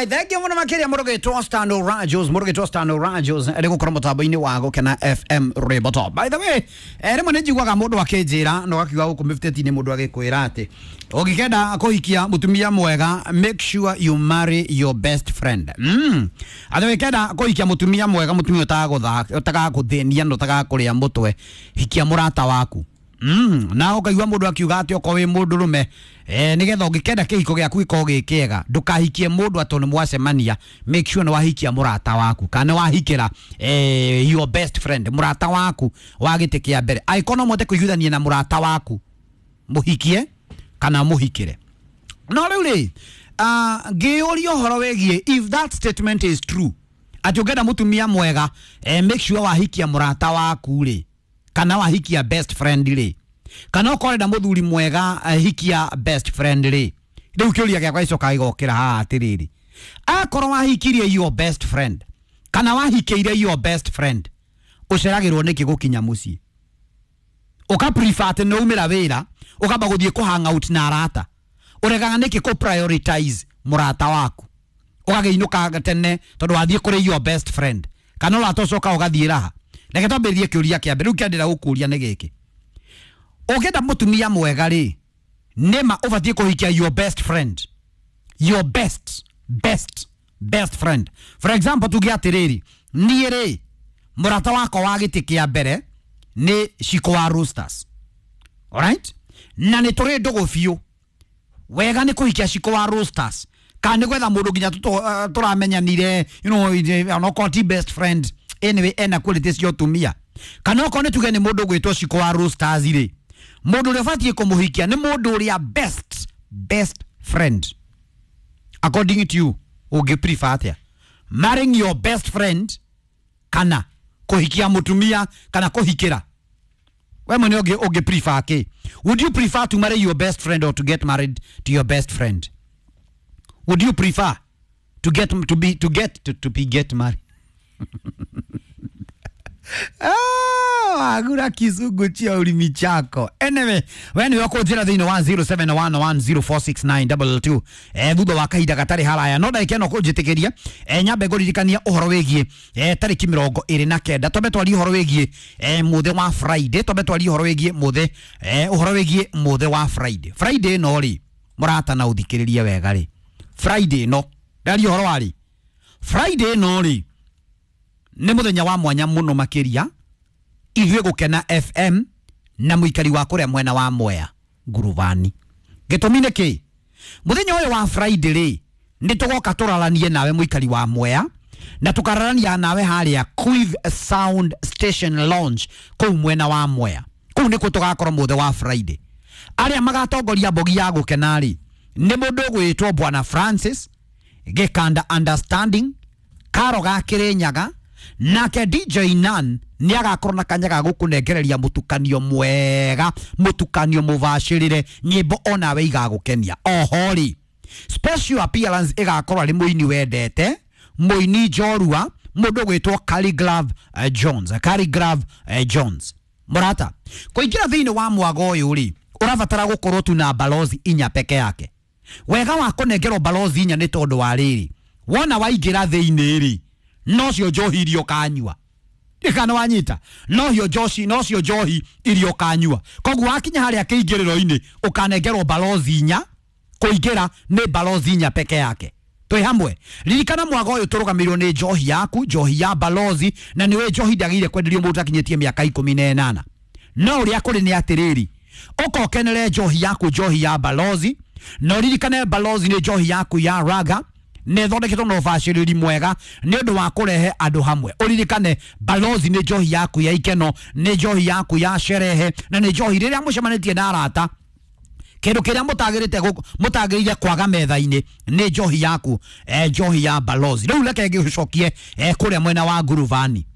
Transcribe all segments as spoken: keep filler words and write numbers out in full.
Alright, thank you muno makiria murugetwo Stano Rajos, murugetwo Stano Rajos ari gukorwo mutambo-ini wa Gukena F M Rwimbo. By the way, eh rimwe nĩ njiguaga mũndũ akĩnjĩra na ũgakiuga gũkũ mĩbuteti-inĩ mũndũ agĩkwĩra atĩ ũngĩkenda kũhikia mũtumia mwega, make sure you marry your best friend. Mm. Atĩ ũngĩkenda kũhikia mũtumia mwega, mũtumia ũtagagũthaka, ũtagagũthĩnia na ũtagakũrĩa mũtwe, hikia mũrata waku. Mm, na ukaigua mundu akiuga ati okorwo wi mundu rume eh nigetha ungikenda kihiko giaku gikorwo gi kiega, ndukahikie mundu ati ni mwacemania, make sure ni wahikia murata waku kana ni wahikira eh your best friend, murata waku wa giti kia mbere. Angĩkorwo no mũhote kũiguithania na murata waku, muhikie kana muhikire. No rĩu rĩ, uh, ngĩyũria ũhoro wĩgiĩ if that statement is true, atĩ ũngĩenda mũtumia mwega, eh, make sure wahikia mũrata waku rĩ, kana wahikia best friend rĩ, kana okorwo ũrenda mũthuri mwega, eh, hikia best friend rĩ. Rĩu kĩũria gĩakwa gĩcokaga gĩgokĩra haha atĩrĩrĩ, akorwo wahikirie your best friend kana wahikĩire your best friend, ũceragĩrwo nĩkĩ gũkinya mũciĩ? Ũka prefer atĩ nĩ waumĩra wĩra ũkamba gũthiĩ kũ hang out na arata, ũregaga nĩkĩ kũ prioritize mũrata waku, ũgagĩinũka tene tondũ wathiĩ kũrĩ your best friend, kana ũrata ũcoka ũgathiĩ raha? Reke twambĩrĩrie kĩũria kĩa mbere. Rĩu kĩrĩa ndĩrenda gũkũria nĩ gĩkĩ, ũngĩenda mũtumia mwega rĩ, nĩma ũbatiĩ kũhikia your best friend, your best best best friend. For example, tuge atĩrĩrĩ, niĩ rĩ, mũrata wakwa wa gĩtĩ kĩa mbere nĩ Shiko wa Roosters, alright, na nĩ tũrĩ ndũgũ biũ. Wega nĩ kũhikia Shiko wa Roosters kana nĩ gwetha mũndũ nginya tũtũ- eh, tũramenyanire, you know onokorwo ti best friend, anyway ena quality cia ũtumia, kana okorwo nĩ tuge nĩ mũndũ ũgwĩtwo Shiko wa Roosters rĩ, mũndũ ũrĩa ũbatiĩ kũmũhikia nĩ mũndũ ũrĩa best best friend. According to you, ũngĩ prefer atĩa, marrying your best friend kana kũhikia mũtumia kana kũhikĩra? We mwene ũngĩ ũngĩ prefer kĩ? Would you prefer to marry your best friend or to get married to your best friend? Would you prefer to get to be to get to, to be get married? Ah, agura kizungu chia ulimi chako. Anyway, we nĩwe ũkũnjĩra thĩinĩ wa zero seven one one zero four six nine double two eh, thutha wa kahinda gatarĩ haraya. No ndagĩka ĩno kũnjĩtĩkĩria, eh, nyambe ngũririkania ũhoro wĩgiĩ eh, tarĩki mĩrongo ĩrĩ na kenda. Twambe twarie ũhoro wĩgiĩ eh, mũthĩ wa Friday. Twambe twarie ũhoro wĩgiĩ mũthĩ, eh, ũhoro wĩgiĩ mũthĩ wa Friday. Friday ĩno rĩ, mũrata na ũthikĩrĩrie wega rĩ, Friday ĩno ndaria ũhoro wa rĩ, Friday ĩno rĩ nĩ mũthenya wa mwanya mũno makĩria ithuĩ Gũkena F M na mũikari wa kũrĩa mwena wa Mwea Ngurubani. Gĩtũmi nĩ kĩ? Mũthenya ũyũ wa Friday rĩ, nĩ tũgoka tũraranie nawe mũikari wa Mwea, na tũkararania nawe harĩa Quiv Sound Station Lounge kũu mwena wa Mwea. Kũu nĩkuo tũgakorwo mũthenya wa Friday. Arĩa magatongoria mbogi ya Gũkena rĩ, nĩ mũndũ ũgwĩtwo Bwana Francis Gĩkanda Understanding Karo ga Kĩrĩnyaga, nake D J Nan nĩ agakorwo na kanya ga gũkũnengereria mũtukanio mwega, mũtukanio mũbacĩrĩre, nyĩmbo onawe igagũkenia. Oho rĩ, special appearance ĩgakorwo arĩ mũini wendete, mũini njorua, mũndũ ũgwĩtwo Khaligraph, eh, Jones. Khaligraph, eh, Jones. Mũrata, kũingĩra thĩinĩ wa mwago ũyũ rĩ, ũrabatara gũkorwo tu na balozi inya peke yake. Wega wa kũnengerwo balozi inya nĩ tondũ wa rĩrĩ, wona waingĩra thĩinĩ rĩ, nocio njohi iria ũkanyua. Kana wanyita, nocio njohi, nocio njohi iria ũkanyua. Koguo wakinya harĩa kĩingĩrĩro-inĩ ũkanengerwo balozi inya, kũingĩra nĩ balozi inya peke yake. Twĩ hamwe. Ririkana mwago ũyũ tũrũgamĩrĩirwo nĩ njohi yaku, njohi ya balozi, na nĩwe njohi ndagĩrĩire kwenderio mũndũ ũtakinyĩtie mĩaka ikũmi na ĩnana. No ũrĩa kũrĩ nĩ atĩrĩrĩ, ũka ũkenere njohi yaku, njohi ya balozi, na ũririkane balozi nĩ njohi yaku ya raga, nĩ ĩthondeketwo na ũbacĩrĩri mwega nĩ ũndũ wa kũrehe andũ hamwe. Ũririkane balozi nĩ njohi yaku ya ikeno, nĩ njohi yaku ya sherehe, na nĩ njohi rĩrĩa mũcemanĩtie na arata, kĩndũ kĩrĩa mũtagĩrĩte gũ-, mũtagĩrĩire kwaga metha-inĩ nĩ njohi yaku, eh, njohi ya balozi. Rĩu reke ngĩgũcokie, eh, kũrĩa mwena wa Ngurubani,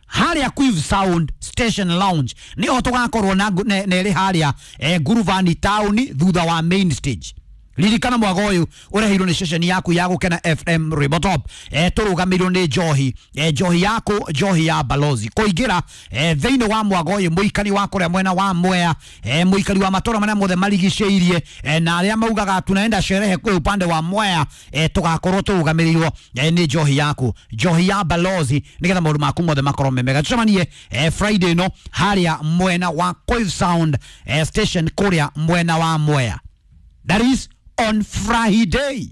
harĩa Quiv Sound Station Lounge nĩho tũgakorwo na ngu-, ne-, nerĩ harĩa, eh, Ngurubani town thutha wa main stage. Ririkana mwago ũyũ ũreheirwo nĩ ceceni yaku ya Gũkena F M Rwĩmbo Top. eh, tũrũgamĩirwo nĩ njohi, eh, njohi yaku, njohi ya Balozi. Kũingĩra eh, thĩinĩ wa mwago ũyũ, mũikari wa kũrĩa mwena wa Mwea, eh, mũikari wa matũra marĩa mothe marigicĩirie, eh, na arĩa maugaga tunaenda sherehe kule upande wa Mwea, eh, tũgakorwo tũrũgamĩrĩirwo eh, nĩ njohi yaku, njohi ya Balozi, nĩgetha maũndũ maku mothe makorwo me mega. Tũcemanie eh, Friday ĩno harĩa mwena wa Coil Sound eh, station kũrĩa mwena wa Mwea. That is on Friday.